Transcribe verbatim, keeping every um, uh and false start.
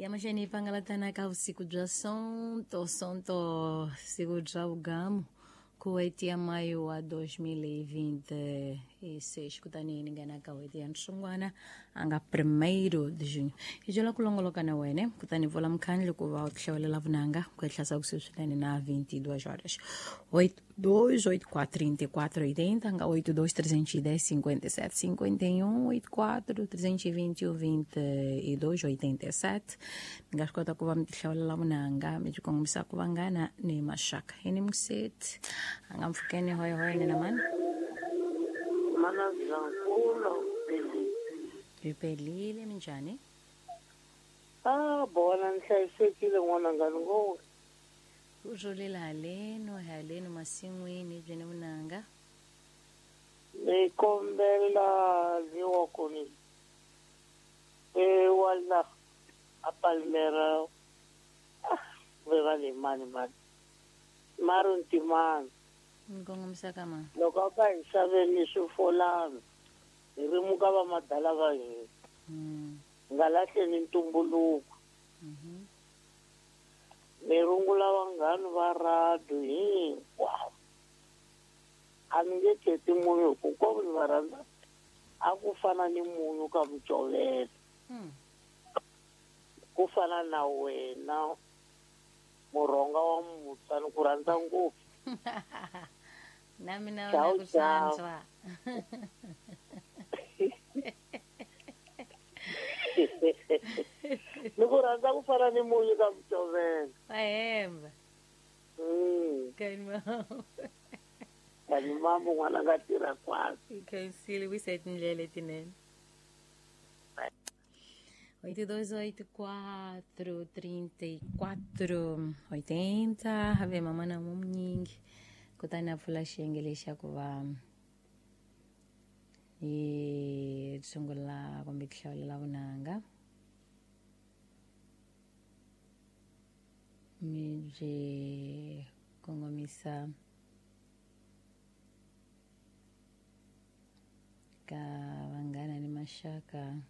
Ya mahlweni yi pangalatana ka vusiku bya Sonto, Sonto siku bya vugamu ku n'hweti ya mayo wa dois mil e vinte e seis kutani ni nghena ka n'hweti ya Nhlungwana a nga primeiro de junho. Hi byela ku longoloka na wena kutani pfula mukhandlu ku va u hlawulela vunanga ku ehlasa kusuhi swinene na vinte e duas horas. oito dois oito quatro trinta e quatro oitenta, nga oito dois trezentos e dez cinquenta e sete cinquenta e um, oito quatro trezentos e vinte e um vinte e dois oitenta e sete. Mi nga swi kota ku va mi tihlawulela vunanga mi byi kongomisa ku vangana ni maxaka. Hi ni museti a nga mpfhukeni hoyihoyi ni na mani. Mana Zankulu Pelile. Hi pelile minjhani? Ah, bona ni hlayisekile n'wananga ni ngo. U rhulile haleno haleno masin'wini byi ni vunanga. Ni kombela liwa ku ni e wa la a Palmera ah ve va le mani mani. Maro Ntimani. Ni kongomisa ka mani? Loko a ka hi xaveni swifolana hi rimuka va madala va hina. Mm. Nga lahleni ntumbuluko. Mhm. Ni rungula vanghana va radio hinkwavo. A ni nge kheti munhu hi ku hinkwavo ni va rhandza a ku fana ni munyu ka mucovelo. Mm. Ku fana na wena murhonga wa musa ni ku rhandza ngopfu. Na mina Ciao, na ku ciao. hlantswa. Ni ku rhandza ku fana ni munyu ka mucovelo. Wa hemba. Mm. Kani Kani mambo n'wana nga tirha kwala. Khensile wisa tindlela letinene. oito dois oito quatro trinta e quatro oitenta have mama na munyingi kutani a pfula xiyenge lexi xa ku va hi sungula kumbe ku hlawulela vunanga mi byi kongomisa ka vanghana ni maxaka.